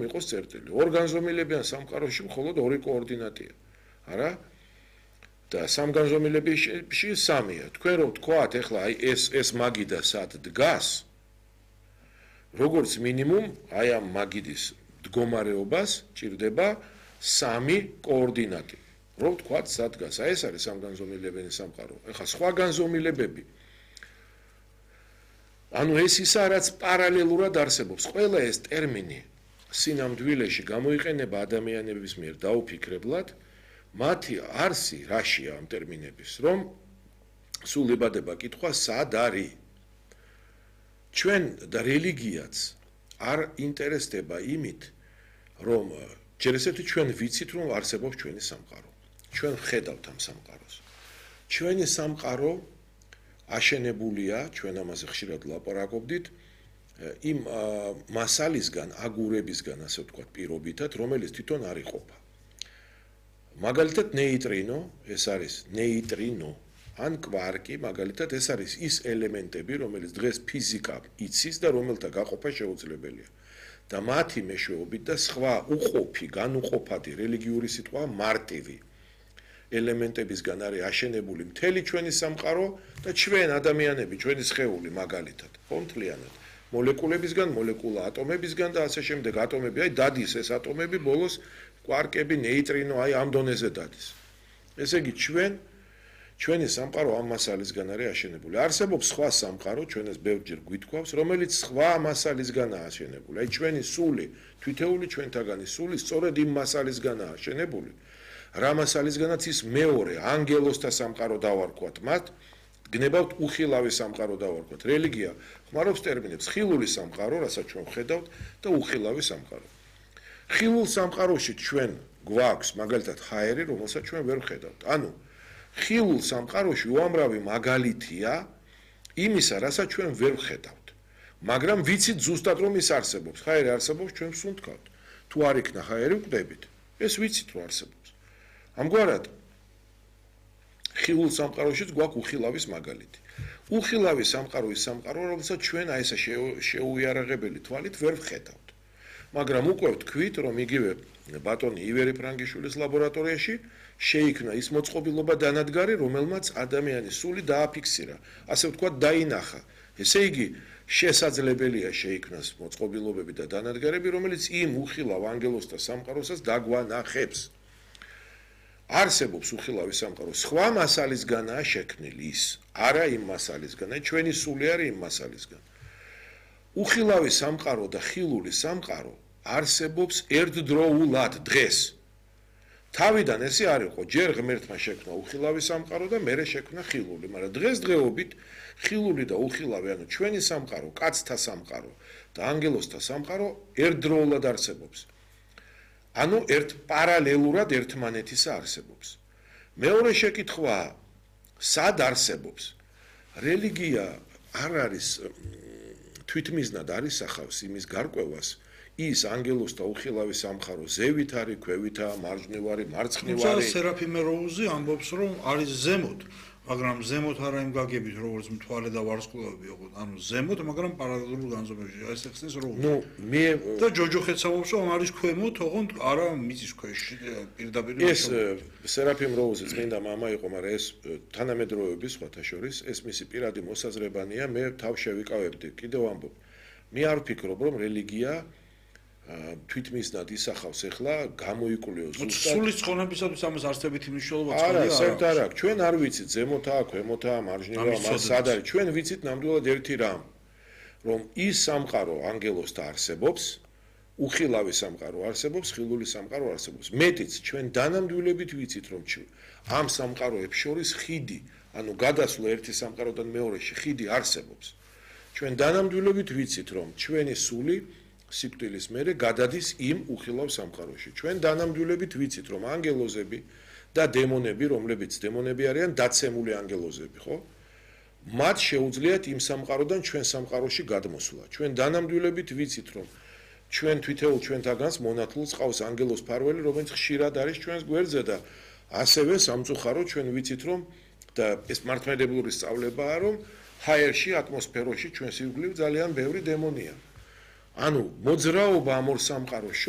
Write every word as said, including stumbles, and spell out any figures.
იყოს წერტილი. ორ განზომილებიან სამყაროში მხოლოდ ორი კოორდინატია. არა? და სამგანზომილებაში სამია. თქვენ რო ვთქვათ, ეხლა აი ეს ეს მაგიდა სად დგას? როგორც მინიმუმ აი ამ მაგიდის მდგომარეობას ჭირდება სამი კოორდინატი. რო ვთქვათ, სად დგას? აი ეს არის სამგანზომილებიანი სამყარო. ეხლა სხვა განზომილებები. ანუ ეს ისა რაც პარალელურად არსებობს. ყველა ეს ტერმინი სინამდვილეში გამოიყენება ადამიანების მიერ დაუფიქრებლად, მათი არსი რაშია ამ ტერმინების, რომ სულ ებადება კითხვა სად არის. ჩვენ და რელიგიაც არ ინტერესდება იმით, რომ ჯერ ესეთი ჩვენ ვიცით, რომ არსებობს ჩვენი სამყარო. ჩვენ ვხედავთ ამ სამყაროს. ჩვენი სამყარო აშენებულია, ჩვენ ამაზე ხშირად ლაპარაკობდით, იმ მასალისგან, აგურებისგან, ასე ვთქვათ, პირობითად, რომელიც თვითონ არ იყოფა. მაგალითად, ნეიტრინო, ეს არის ნეიტრინო, ან კვარკი, მაგალითად, ეს არის ის ელემენტები, რომელიც დღეს ფიზიკა იცის და რომელთა გაყოფა შეუძლებელია. და მათი მეშვეობით და სხვა უყოფი, განუყოფადი რელიგიური სიტყვა მარტივი ელემენტებისგან არის აშენებული მთელი ჩვენი სამყარო და ჩვენ ადამიანები, ჩვენი სხეული მაგალითად, ხო მთლიანად. მოლეკულებისგან, მოლეკულა ატომებისგან და ასე შემდეგ ატომები, აი დადის ეს ატომები ბოლოს კვარკები, ნეიტრინო, აი ამ დონეზე დადის. ესე იგი ჩვენ ჩვენი სამყარო ამ მასალისგან არის აშენებული. არსებობს სხვა სამყარო, ჩვენ ეს ბევრჯერ გვითქვავს, რომელიც სხვა მასალისგანაა აშენებული. აი ჩვენი სული, თვითეული ჩვენთაგანი სული სწორედ იმ მასალისგანაა აშენებული. რა მასალისგანაც ის მეორე ანგელოსთა სამყარო დავარქვათ მათ, გნებავთ უხილავი სამყარო დავარქვათ. რელიგია ხმარობს ტერმინებს ხილული სამყარო, რასაც ჩვენ ვხედავთ და უხილავი სამყარო. ხილულ სამყაროში ჩვენ გვაქვს მაგალითად ჰაერი, რომელსაც ჩვენ ვერ ვხედავთ. ანუ ხილულ სამყაროში უამრავი მაგალითია იმისა, რასაც ჩვენ ვერ ვხედავთ. მაგრამ ვიცით ზუსტად რომ ის არსებობს. ჰაერი არსებობს, ჩვენ ვსუნთქავთ. თუ არ იქნა ჰაერი, ვკვდებით. ეს ვიცით რომ არსებობს. ამგვარად ხილულ სამყაროშიც გვაქვს უხილავის მაგალითი. უხილავი სამყარო ის სამყარო, რომელსაც ჩვენ აი ესა შეუიარაღებელი თვალით ვერ ვხედავთ. მაგრამ უკვე ვთქვით, რომ იგივე ბატონი ივერი ფრანგიშვილის ლაბორატორიაში შეიქმნა ის მოწყობილობა დანადგარი, რომელმაც ადამიანის სული დააფიქსირა. ასე ვთქვათ, დაინახა. ესე იგი, შესაძლებელია შეიქმნას მოწყობილობები და დანადგარები, რომელიც იმ უხილავ ანგელოსთა სამყაროსაც დაგვანახებს. არსებობს უხილავი სამყარო, სხვა მასალისგანაა შექმნილი ის, არა იმ მასალისგან, ჩვენი სული არის იმ მასალისგან. უხილავი სამყარო და ხილული სამყარო არსებობს ერთდროულად დღეს. თავიდან ესე არ იყო, ჯერ ღმერთმა შექმნა უხილავი სამყარო და მერე შექმნა ხილული, მაგრამ დღესდღეობით ხილული და უხილავი, ანუ ჩვენი სამყარო, კაცთა სამყარო და ანგელოსთა სამყარო ერთდროულად არსებობს. ანუ ერთ პარალელურად ერთმანეთისა არსებობს. მეორე შეკითხვაა, სად არსებობს? რელიგია არ არის თვითმიზნად არის სახავს იმის გარკვევას, ის ანგელოსთა უხილავი სამყარო ზევით არის, ქვევით არის, მარჯვნივ არის, მარცხნივ არის. თუმცა სერაფიმე როუზი ამბობს, რომ არის ზემოთ, მაგრამ ზემოთ არა იმ გაგებით, როგორც მთვარე და ვარსკვლავები იყო, ანუ ზემოთ, მაგრამ პარალელურ განზომებში. ეს ხსნის როუზი. ნუ მე და ჯოჯოხეთს ამბობს, რომ არის ქვემოთ, ოღონდ არა მიწის ქვეშ, პირდაპირ. ეს სერაფიმ როუზი წმინდა მამა იყო, მაგრამ ეს თანამედროვეობის სხვათა შორის, ეს მისი პირადი მოსაზრებანია, მე თავ შევიკავებდი. კიდევ ამბობ. მე არ ვფიქრობ, რომ რელიგია თვითმიზნად ისახავს ახლა გამოიკვლიოს ზუსტად სულის ცხონებისათვის ამას არსებითი მნიშვნელობა წყალია არა საერთოდ არ აქვს ჩვენ არ ვიცით ზემოთაა ქვემოთაა მარჯვნივაა მას სად არის ჩვენ ვიცით ნამდვილად ერთი რამ რომ ის სამყარო ანგელოსთა არსებობს უხილავი სამყარო არსებობს ხილული სამყარო არსებობს მეტიც ჩვენ დანამდვილებით ვიცით რომ ამ სამყაროებს შორის ხიდი ანუ გადასვლა ერთი სამყაროდან მეორეში ხიდი არსებობს ჩვენ დანამდვილებით ვიცით რომ ჩვენი სული სიკვდილის მერე გადადის იმ უხილავ სამყაროში. ჩვენ დანამდვილებით ვიცით, რომ ანგელოზები და დემონები, რომლებიც დემონები არიან, დაცემული ანგელოზები, ხო? მათ შეუძლიათ იმ სამყაროდან ჩვენ სამყაროში გადმოსვლა. ჩვენ დანამდვილებით ვიცით, რომ ჩვენ თვითეულ ჩვენთაგანს მონათლულს ყავს ანგელოს ფარველი, რომელიც ხშირად არის ჩვენს გვერდზე და ასევე სამწუხაროდ ჩვენ ვიცით, რომ და ეს მართლმადიდებლური სწავლებაა, რომ ჰაერში, ატმოსფეროში ჩვენს ირგვლივ ძალიან ბევრი დემონია. ანუ მოძრაობა ამ ორ სამყაროს